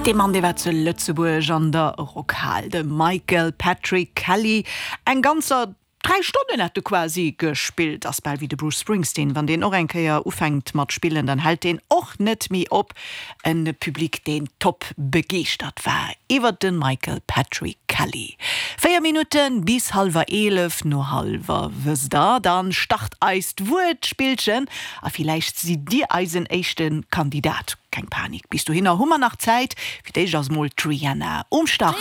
Dee Mann, dee war zu Lëtzebuerg an der Rockhal, de Michael Patrick Kelly. Eng ganzer 3 Stonnen hat de quasi gespillt. Ass bal wéi de Bruce Springsteen, wann deen och eng Kéier ufänkt mat spillen, dann hält deen och net méi op. En Public deen top begeeschtert war iwwert de Michael Patrick Kelly. 4 Minutten bis hallwer 11, no hallwer wësst der, dann start eist Wuertspillchen a villäicht sidd dir eisen éischte Kandidat. Keng Panik, bis dohinner hu mer nach Zäit. Fir d'éischt ass mol d'Rihanna um Start.